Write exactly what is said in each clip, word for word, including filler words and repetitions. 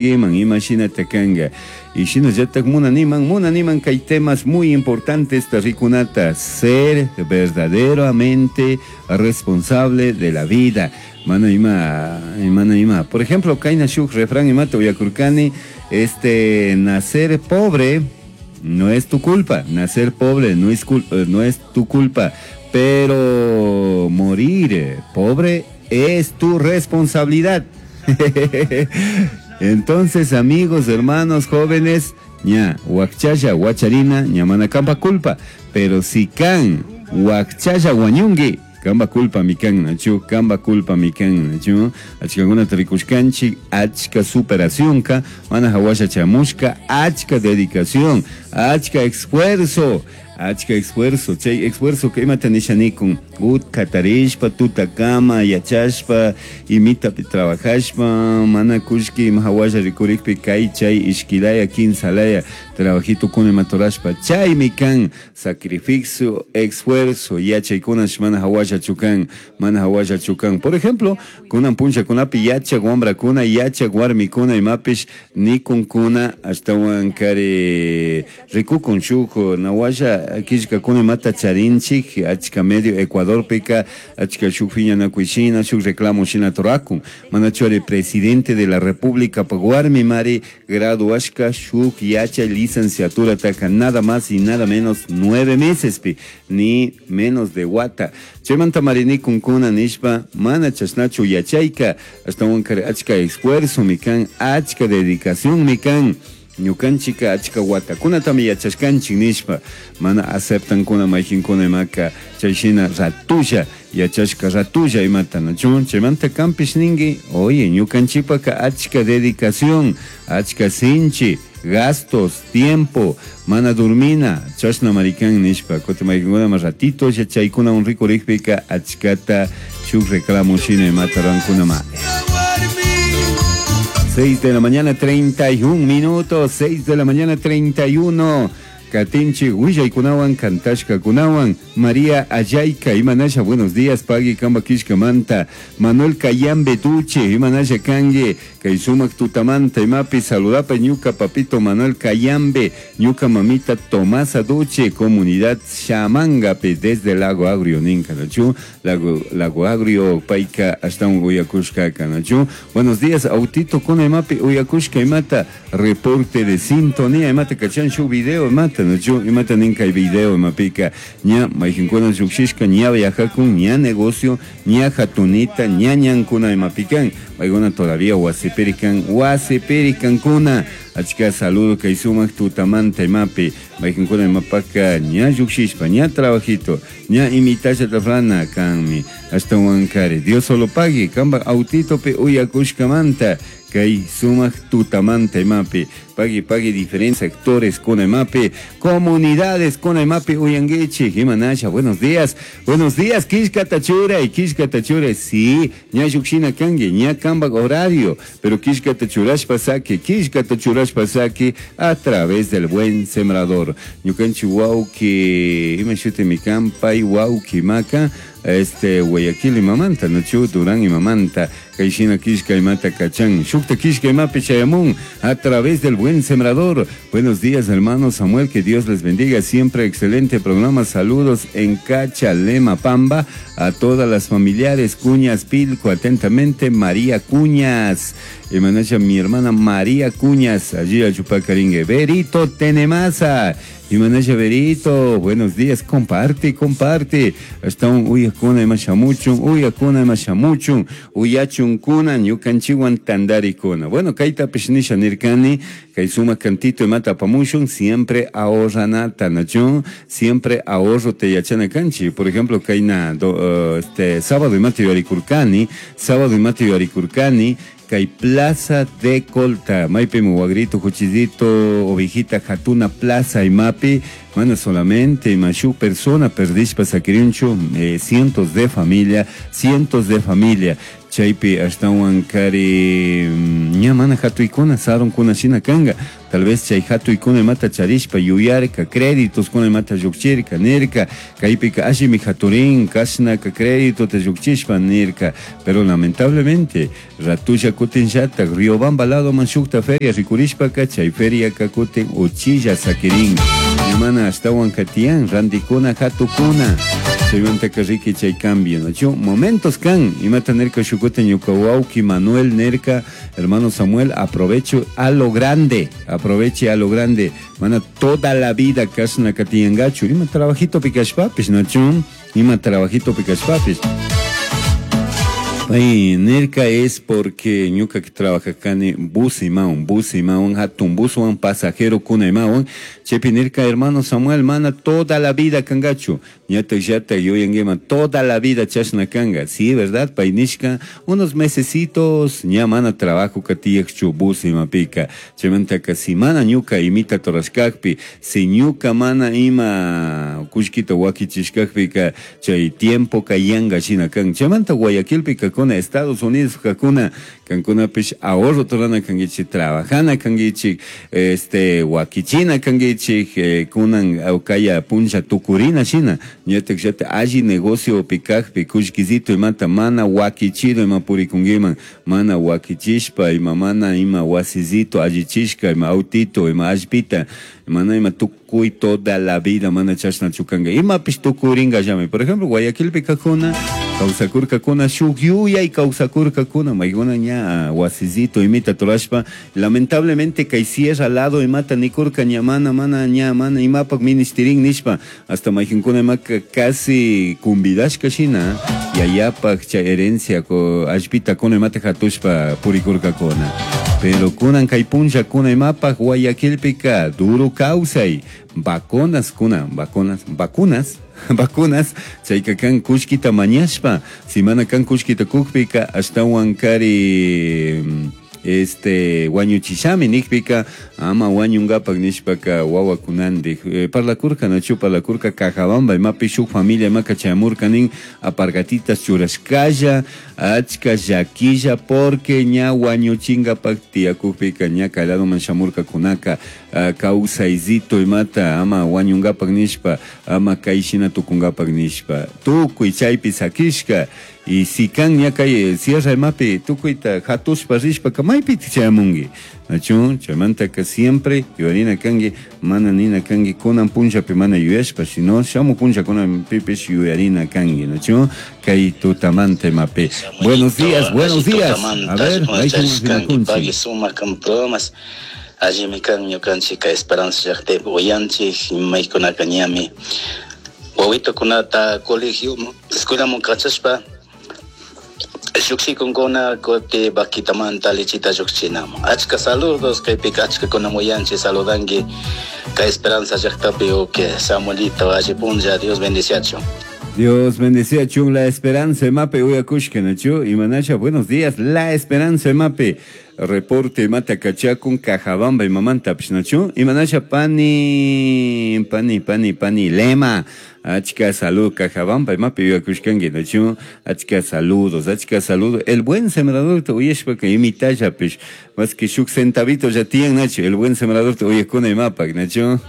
Iman imashina kanga y shinallatak munaniman munaniman kay temas muy importantes rikunata ser verdaderamente responsable de la vida. Mana ima mana ima, por ejemplo, kayna shuk refrán imata uyakurkani, este nacer pobre no es tu culpa, nacer pobre no es cul- no es tu culpa, pero morir pobre es tu responsabilidad. Entonces, amigos, hermanos, jóvenes, ña, wakchalla, huacharina, ña mana kampa culpa. Pero si kan, wakchalla wañungi, kamba culpa mi kan, nachu, kamba culpa mi kan, nachu, achkakuna rikushkanchik, achka superación ka, mana hawasha chamushka, achka dedicación, achka esfuerzo, achka esfuerzo, chay esfuerzo que imata nishanikun, utka tarishpa, tutakama, yachashpa, imitapi trabajashpa, mana kushki ima hawasha rikurikpi kay chay ishkilaya, kinsalaya, trabajito kuna imatorashpa, chaymi kan sacrificio, esfuerzo, yachaykunash mana hawasha chukan, mana hawasha chukan. Por ejemplo, kunan punchakunapi yachak wambrakuna, yachak warmikuna imapish nikunkuna, ashtawan kari rikukun shuk nawasha killkakuna imata charinchik, achka medio Ecuadorpika, achka shuk piñanakuy shuk reclamo shina turakun. Manachu ari presidente de la República pa warmi mari graduashka shuk yachay licenciatura taka nada más y nada menos nueve meses pi, ni menos de wata. Chaymanta marinikunkuna nishpa mana chashnachu yachayka, ashtawan kari achka esfuerzo mikan, achka dedicación mikan. Ñukanchika achka watakunatami yachashkanchik nishpa mana aceptankuna mayjinkuna imaka chayshina ratulla yachashka ratulla imata nachu. Chaymanta kampish ninki, oye, ñukanchipaka achka dedicación, achka sinchi, gastos, tiempo, mana durmina, chashna marikan nishpa, kutin mayjinkuna ma ratito yachaykuna un rikurikpika achkata shuk reclamo shina imata rankuna ma. Seis de la mañana, treinta y un minutos, seis de la mañana, treinta y uno. Katinchi, Willaykunawan, Kantashka Kunawan, María Ayayka, Imanasha, buenos días, Pagui, Kamba Kishka Manta, Manuel Cayambe Duche, Imanasha Kangue, Kaisumak Tutamanta, Imapi, Saludapa, Ñuka, Papito Manuel Cayambe, Ñuka Mamita Tomasa Duche, Comunidad Chamangape, desde Lago Agrio, Ninka, Nachu, Lago, Lago Agrio, Paika, hasta un Uyakushka, Kanachu. Buenos días, Autito, con Imapi, Uyakushka, Imata, reporte de sintonía, Imata, Kachan, Shu, video, Imata, Nachu, imata ninka video imapika ña mayjinkuna llukshishka ña viajakun ña negocio ña hatunita ña ñankuna imapikan paykuna todavía wasipirikan wasipirikankuna achka saludo kay sumak tutamanta imapi mayjinkuna imapaka ña llukshishpa ña trabajito ña imitasha tafrana kanmi ashtawan kari Dios solo pague kamba autitopi uyakushkamanta kay sumak tutamanta imapi pagui pagui diferentes sectores con imapi comunidades con imapi uyanguichi imanasha buenos días, buenos días Kishka Tachura y Kishka Tachura sí ña llukshina kangi ña kamba horario pero Kishka Tachurash pasaki Kishka Tachurash pasaki a través del buen sembrador ñukanchi wauki imashuti mikampa wauki maka este Guayaquil imamanta nachu Durán imamanta kayshina kishka imata kachan shukta kishka imapi chayamun a través del buen sembrador. Buenos días, hermano Samuel, que Dios les bendiga siempre, excelente programa, saludos en Cachalema Pamba a todas las familiares Cuñas Pilco, atentamente María Cuñas, Imanacha, mi hermana María Cuñas, allí a Chupacaringue, Berito Tenemasa, Imanasha Berito, buenos días, comparte, comparte. Hasta un uyakuna imashamuchun, uyakuna imashamuchun, uyachun kuna, ñukanchiwan tandarikuna. Bueno, kaita pisnisha nirkani, kay suma cantito imata pamushun, siempre ahorranata, nachun, siempre ahorro te yachana kanchi. Por ejemplo, kayna, do, uh, este, sábado imata yarikurkani, sábado imata yarikurkani, kay Plaza de Colta, maypi muwagrito, juchidito, ovejita, jatuna, plaza imapi, mana solamente imashu persona perdishpa sakirinchu, eh, cientos de familia, cientos de familia. Chaypi ashtawan kari ña mana hatuykuna sarunkuna shina kanga. Tal vez chay hatuykuna imata charishpa yuyarka, créditos kuna imata llukchirka, nirka, kaypika allimi haturin, kashnaka crédito te llukchishpa nirka. Pero lamentablemente, ratulla kutinllatak, Riobamba lado man shukta feria rikurishpaka, chay feriaka kutin uchilla sakirin. Ña mana ashtawan katiyan, rantikuna hatukuna. Chaymantaka riki chay cambio, ¿no? Momentos kan, imata nirka shukuta ñuka wawki Manuel nirka, hermano Samuel, aprovecho a lo grande, aproveche a lo grande, mana toda la vida kashna katiyangachu, ima trabajito pikashpapis, ¿no? Ima trabajito pikashpapis. Ay, nirka es porque ñuka que trabaja kani bus imawan, bus imawan, hatun buswan, pasajero kuna imawan. Chepi nirka, hermano Samuel, mana toda la vida kangachu. Ñata llata yuyanguima, toda la vida chashna kanga. Sí, ¿verdad? Painishka, unos mesecitos, ña mana trabajo katiyakchu bus imapika. Chaymantaka si mana ñuka imita torashkakpi, si ñuka mana ima kullkita wakichishkakpika, chay tiempo kayanga shina kan. Chaymanta Guayaquilpika kakuna, Estados Unidos kakuna, kankunapish ahorro torana kangichik, trabajana kangichik, este, wakichina kangichik, eh, kunan aukaya puncha tukurina shina, ñatak llata alli negocio pikakpi, kullkisito imata mana wakichido ima purikunkiman, mana wakichishpa, ima mana ima wasizito allichishka, ima autito, ima allpita, mana ima tukuy toda la vida mana chashna chukanga, imapish tukuringa llami. Por ejemplo, Guayaquilpi kakuna, kawsakurkakuna, shuk yuyay kawsakurkakuna, maykuna ña wasizito imita turashpa, lamentablemente kay sierra lado imata nikurka ña mana, mana ña mana imapak ministirin nishpa, hasta maykinkuna imaka casi kumbidashka shina, yayapak chay herencia ko allpita kuna imata hatushpa purikurkakuna. Pero kunan kay punlla kuna imapak Guayaquilpika duro kawsay, vacunas kuna, vacunas, vacunas, vacunas, chayka kan kullkita mañashpa, si mana kan kullkita kukpika, ashtawan kari este wañuchishami nikpika, ama wañungapak nishpaka wawakunandik. Eh, parlakurka nachu parlakurka Cajabamba imapi shuk familia imaka chayamurka nin apargatitas churashkalla, achka llaquilla porque ña wañuchingapak tiyakukpika ña kayladoman shamurka kunaka, uh, kawsayzito imata ama wañungapak nishpa, ama kayshina tukungapak nishpa, tukuy chaypi sakishka. Y si kan ña kay sierra imapi tukuyta hatushpa rishpaka maypi chayamunki, nachu chaymantaka siempre yuyarina kanki, mana nina kanki kunan punllapi mana yuyashpa, sino shamu punlla kunanpipish yuyarina kanki, nachu kay tutamanta imapi. Buenos días, buenos días. A ver, pagui sumak kan allimi kan ñukanchik Esperanza llaqtapi uyanchik maykunaka ñami wawitukunata colegio escuelaman kachashpa lluqshikunkuna kuti vaquitamanta lechita lluqchinaman. Achka saludos kaypika achkakuna muyanchik saludanki kay Esperanza llaqtapi uke Samuelito alli punlla, Dios bendiciachun. Dios bendice a Chun, La Esperanza Mape, uyakushka nachu, imanasha, buenos días, La Esperanza Mape, reporte mata kachakun, Cajabamba y mamanta pishnachu, imanasha pani, pani, pani, pani, lema, achka salud, Cajabamba y mape, uyakushkangi nachu, achka saludos, achka saludos, el buen sembrador te uyeshpa que imitaya pish, más que shuk centavito ya tienen nachu, el buen sembrador te uyakuna y mapa, nachu.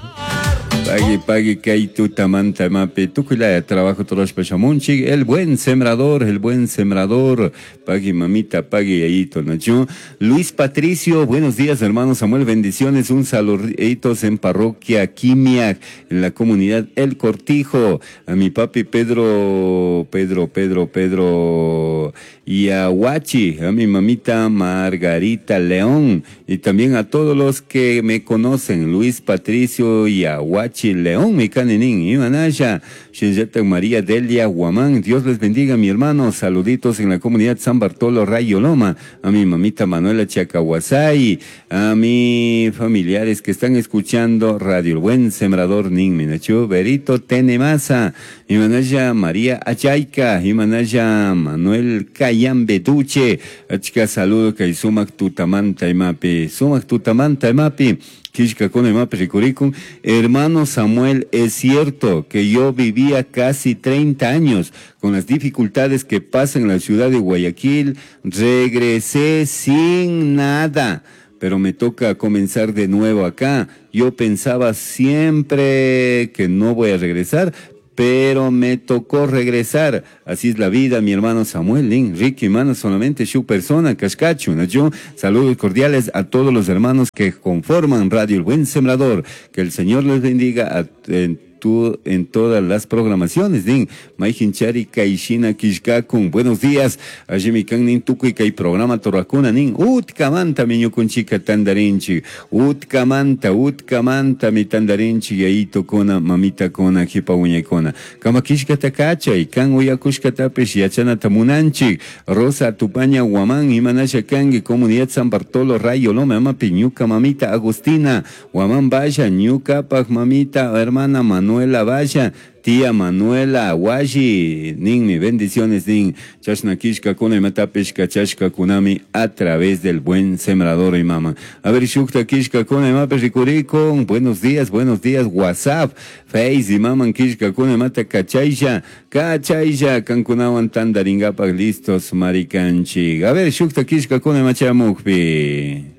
Pagui, pagui, kay tutamanta mapi, tukuylaya trabajo torashpa shamunchik, el buen sembrador, el buen sembrador, pagui mamita, pagui yayito, nachu. Luis Patricio, buenos días hermano Samuel, bendiciones, un saluditos en parroquia Quimiac, en la comunidad El Cortijo, a mi papi Pedro, Pedro, Pedro, Pedro y a Huachi, a mi mamita Margarita León, y también a todos los que me conocen, Luis Patricio y a Huachi León, mi caninin, Imanaya, Shinjeta María Delia Guamán, Dios les bendiga, mi hermano, saluditos en la comunidad San Bartolo Rayo Loma, a mi mamita Manuela Chacahuasay, a mis familiares que están escuchando Radio El Buen Sembrador Nin Minachu, Berito Tenemasa, Imanaya María Achayca, Imanaya Manuel Cayambe Duche, achka saludo kay sumak tutamanta imapi, sumak tutamanta imapi, Kishkakuna imapi rikurikun. Hermano Samuel, es cierto que yo vivía casi treinta años con las dificultades que pasan en la ciudad de Guayaquil, regresé sin nada, pero me toca comenzar de nuevo acá. Yo pensaba siempre que no voy a regresar, pero me tocó regresar. Así es la vida, mi hermano Samuel Lin, Ricky, mano, solamente su persona, Cascacho, ¿no? Yo, saludos cordiales a todos los hermanos que conforman Radio El Buen Sembrador. Que el Señor les bendiga a, en, tu, en todas las programaciones, nin. Maijinchari Kaishina Kishkakun. Buenos días. Allí mi kan nin tukuy kay programa torrakuna nin. Utkamanta mi ñukunchika tandarinchi. Utkamanta, utkamanta mi tandarinchi yayito kona, mamita kona, jipa uñekona. Kama kishkata kachay, kan uyakushkatapish yachanata munanchi. Rosa Tupaña Guamán, imanasha kangi, Comunidad San Bartolo, Rayo Loma, amapi, ñuka mamita Agustina, Guamán Vaya, ñuka paj mamita, hermana Manuela Valla, tía Manuela Washi, ninmi, bendiciones nin, chashna kishka kuna imatapish kachashka kunami a través del Buen Sembrador y mama. A ver, shukta kishka kuna imapish rikurikun, buenos días, buenos días, WhatsApp, Face y maman kishka kuna imata kachaysha, kachaysha, kankunawan tandaringapak listos marikanchik. A ver, shukta kishka kuna imachamukpi.